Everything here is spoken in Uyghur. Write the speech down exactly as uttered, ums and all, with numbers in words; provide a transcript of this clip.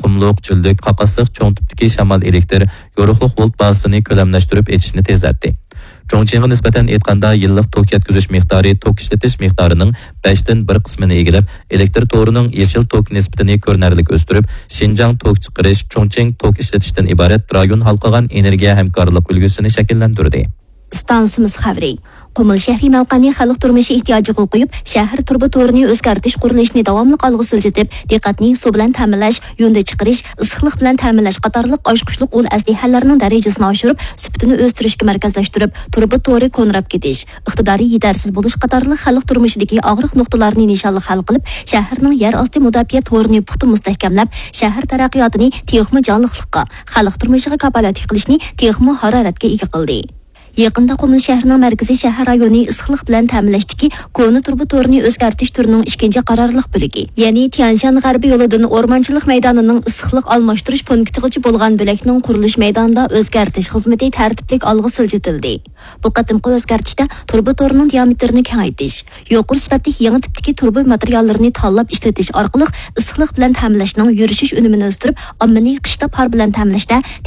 قۇملۇق، چۆللۈك، قاقاسلىق چوڭ تىپتىكى شامال ئېلېكتىر يورۇقلۇق ۋولت بازىسىنى كۆلەملەشتۈرۈپ ئېچىشنى تېزلەتتى. چۇڭچىڭغا نىسبەتەن ئېيتقاندا، يىللىق توك يەتكۈزۈش مىقدارى توك ئىشلىتىش مىقدارىنىڭ بەشتىن بىر قىسمىنى ئىگىلەپ، ئېلېكتىر تورىنىڭ يېشىل توك نىسبىتىنى كۆرۈنەرلىك ئۆستۈرۈپ، شىنجاڭ توك چىقىرىش، چۇڭچىڭ توك ئىشلىتىشتىن ئىبارەت رايون ھالقىغان ئېنېرگىيە ھەمكارلىق ئۈلگىسىنى شەكىللەندۈردى. ئىستانسىمىز خەۋىرى. قۇمۇل شەھىرى مەۋقەنى خەلق تۇرمۇشى ئېھتىياجىغا قويۇپ، شەھەر تۇرۇبا تورىنى ئۆزگەرتىش قۇرۇلۇشىنى داۋاملىق ئالغا سىلجىتىپ، دىققەتنى سۇ بىلەن تەمىنلەش، يۇندى چىقىرىش، ئىسسىقلىق بىلەن تەمىنلەش قاتارلىق ئاچقۇچلۇق ئۇل ئەسلىھەلەرنىڭ دەرىجىسىنى ئاشۇرۇپ، سۈپىتىنى ئۆستۈرۈشكە مەركەزلەشتۈرۈپ، تۇرۇبا تورى كونىراپ كېتىش، ئىقتىدارى يېتەرسىز بولۇش قاتارلىق خەلق تۇرمۇشىدىكى ئاغرىق نۇقتىلارنى نىشانلىق ھەل قىلىپ، شەھەرنىڭ يەر ئاستى مۇداپىئە تورىنى پۇختا مۇستەھكەملەپ، شەھەر تەرەققىياتىنى تېخىمۇ جانلىقلىققا، خەلق تۇرمۇشىغا كاپالەتلىك قىلىشنى تېخىمۇ ھارارەتكە ئىگە قىلدى. يېقىندا قۇمۇل شەھىرىنىڭ مەركىزىي شەھەر رايونى ئىسسىقلىق بىلەن تەمىنلەشتىكى كونا تۇرۇبا تورىنى ئۆزگەرتىش تۈرىنىڭ ئىككىنچى قارارلىق بۆلىكى، يەنى تيەنشان غەربىي يولىدىن ئورمانچىلىق مەيدانىنىڭ ئىسسىقلىق ئالماشتۇرۇش پونكىتىغىچە بولغان بۆلەكنىڭ قۇرۇلۇش مەيدانىدا ئۆزگەرتىش خىزمىتى تەرتىپلىك ئالغا سىلجىتىلدى. بۇ قېتىمقى ئۆزگەرتىشتە تۇرۇبا تورىنىڭ دىيامېتىرىنى كېڭەيتىش، يۇقىرى سۈپەتلىك يېڭى تىپتىكى تۇرۇبا ماتېرىياللىرىنى تاللاپ ئىشلىتىش ئارقىلىق ئىسسىقلىق بىلەن تەمىنلەشنىڭ يۈرۈشۈش ئۈنۈمىنى ئۆستۈرۈپ، ئاممىنى قىشتا پار بىلەن تەمىنلەشتە تېخىمۇ